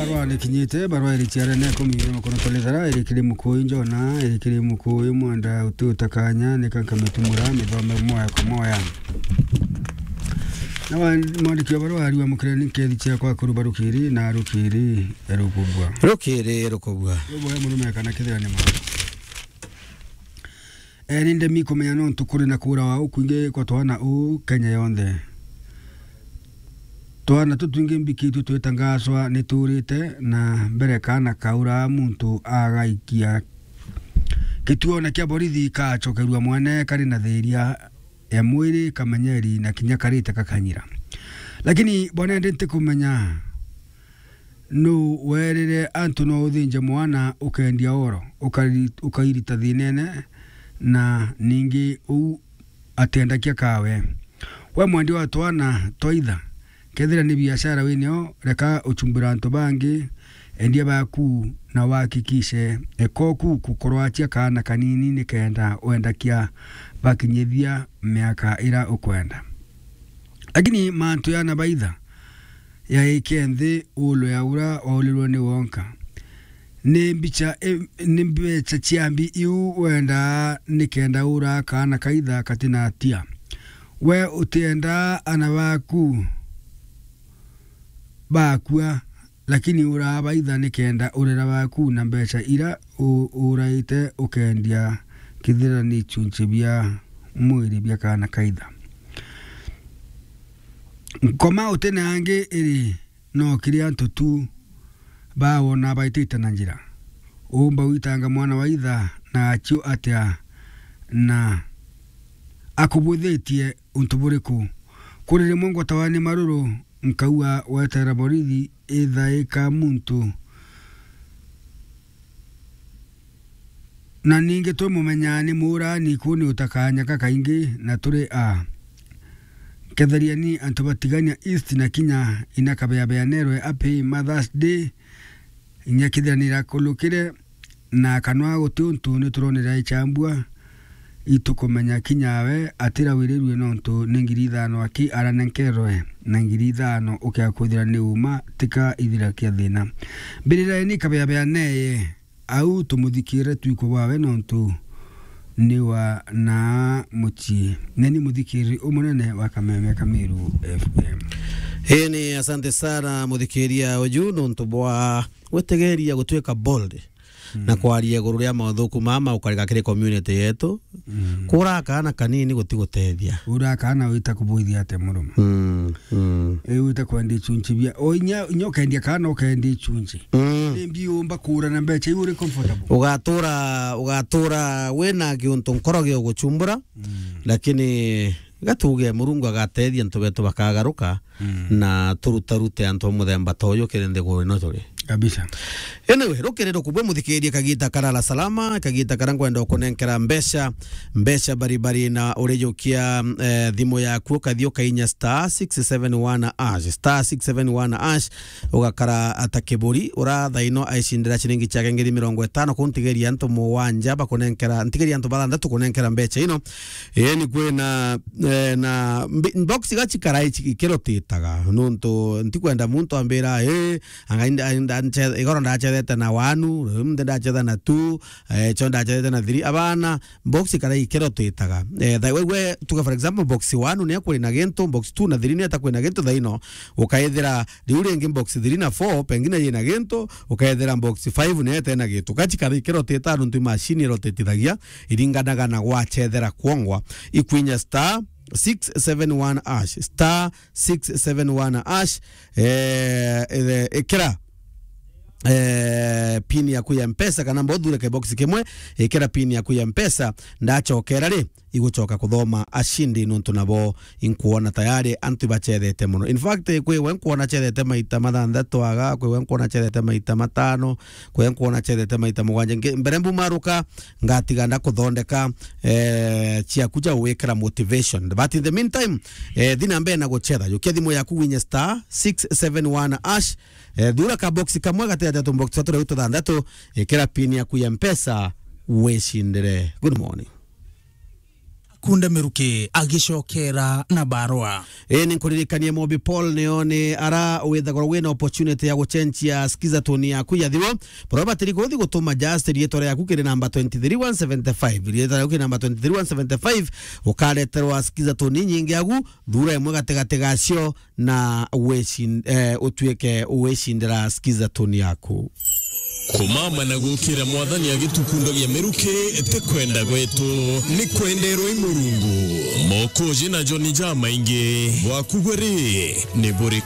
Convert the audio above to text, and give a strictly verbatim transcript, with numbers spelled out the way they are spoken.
Barua nikinyite, barua iri ciarene kumi na mukono tolithara, iri kiri Mukuyu Njona, iri kiri Mukuyu Mwenda, uti utakanya, nika nkamitumura, mithome moya kwa moya. Na wa-, mwandiki wa barua ariwa mukirani nkethi ciakwa kuru barukiri na rukiri ya rukubwa. Rukiri rukubwa. Rubwa ya murume kana kithira ni ma. Ee, ni ndemi kumenya nontu kuri na kuurawa ukwingi kwa twana uu Kenya yonthe. Twana tutwingi mbiki tu twitangaswa ni tuurite na mbere kana kauraa muntu agaikia kituone kia borithi kacokerua mwene kari na thiria ya mwiri, kamenyeri na kinya karite kakanyira. Lakini bwana, ndi ntikumenya nu werire antu no uthinje mwana ukendia oro, ukari-, ukairita thinene, na ningi uu atiendakia kawe. We mwendia wa twana twaitha, kethira ni biashara winio, reka uchumbira antu bangi, endia baku na wahakikishe ekoku kukorwatia kaana kanini nikenda wendakia bakinyithia miaka ira ukwenda. Lakini mantu yana baitha, yaike nthi ulo ya ura waulirwe ni wonka. Ni mbicha, i-, ni mbecha ciambi iu wendaa nikenda ura kaana kaitha katina atia. We utiendaa ana baku bakua, lakini uraa baitha nikenda urera baku na mbecha ira u-, uraite ukendia kithira ni chunchi bia mwiri bia kaana kaitha. Nkoma utene angi iri no kiri antu tu bawona baitite na njira. Umba witanga mwana wa itha na acio atia na akubwithitie untu buriku? Kuri rimwe ngwatawa ni maruru, nkaua wetera borithi ithaika muntu. Na ningi twimumenya ni muurani, ku ni utakanyaka kaingi, na turi a. Ketheriani antu ba Tigania East na kinya ina kabeabeanerwe happy Mother's Day. Inya kithira ni irakulukire na kanwa guti untu ni turonera ichambua. Itukumenya kinya we atirawirirue nontu ni ngiri ithano aki aranenkerwe, na ngiri ithano ukia kwithira ni uma tika ithira kia thina. Mbiriraeni kabeabeaneye. Au tumuthikire twikwe bwawe nontu ni wa na mucii. Neni muthikiri umunene wa Kameme Kamiru F M. Ii ni asante sana muthikiria uju nontu bwa gwetegeria gutwika bold na kwaria iguru ria mauthuku mama ukarika kiri community yetu. Mm. Kura kaana kanini gutigutethia. Ura kaana wita kubuithia ate murume? Mm, mm. Ii wita kwendia ichunchi bia. O inya, inya ukendia kaana ukendia ichunchi. Mm. Ni mbi umba kura na mbecha iu uri comfortable? Ugatura, ugatura wina kiuntu nkoro gia guchumbura, mm, lakini gatuge Murungu agatethia antu betu bakagaruka, mm, na turutarute antu ba muthemba ta uyu kiri nthiguru ino turi. Kabisa. Anyway, rukiri rukubwe muthikirie kagita karara salama, kagita karia nkwenda ukunenkera mbeca, mbeca baribari na urijukia, eh, thimu yaku ukathi ukainya star six seven one hash, star six seven one hash, ugakara ata kiburi, urathaino aicindira ciringi ciake ngiri mirongo itano, kuu ntigeria antu mugwanja bakunenkera, ntigeria antu bathanthatu kunenkera mbeca ino. Ii ni kwina, eh, na mbi-, box iga cikara ici-, ikirotitaga, nontu ntikwenda muntu ambira, "Ii, anga inda-, inda-, nche-, igoro ndachethete na one, riu nthi ndachetha na two, eh, cho ndachethete na three." Abana, box ikara ikirotitaga. Eh, tha-, we, we, tuge for example, box one ni akwina gintu, box two na three ni atakwina gintu, thaino ukaithira riu ringi box three na four pengine yina gintu, ukaithira box five ni etena gintu. Gachikara ikirotita nontu machine irotitithagia, iringanaga na gwachethera kwongwa. Ikwinya star six seven one hash, star six seven one hash, eh, eh, ikira, eh, pin yaku ya Mpesa, kana mba uthure kebox kimwe, ikira pin yaku ya Mpesa, ndachokera ri, igucoka kuthoma ashindi nontu nabo inkuona tayari antu ibachethete mono. In fact, kwi we nkuona chethete maita mathanthatu aga, kwi we nkuona chethete maita matano, kwi we nkuona chethete maita mugwanja. Nge-, mbere mbumaruka, ngatiga ndakuthondeka, eh, ciaku cia gwikira motivation. But in the meantime, eh, thi na mbere na guchetha. Jukia thimu yaku winye star six seven one hash, eh, thura ka box kamwe gati ya tubox twa turia tuthanthatu, ikira pin yaku ya Mpesa, wicindire. Good morning. Kunde Miruki agicokera na barua. Ii, ni nkuririkanie Mobi Paul nio ni ara withagwa wina opportunity ya gucenjia Skiza tone yaku ya thimu. Barua batiri kuthi gutuma just rietwa riaku kiri namba twenty three one seventy five. Rietwa riaku kiri namba twenty three one seventy five, ukareterwa Skiza tone nyingi agu, thura imwe gatigati gacio na wicin-, eh, utuike wicindira Skiza tone yaku. Kumama na gukira Mwathani agitukundagia miruki ti kwenda gwetu, ni kwenderwa i Murungu. Mokoji na John jamaingi bwaku bwe ri ni buri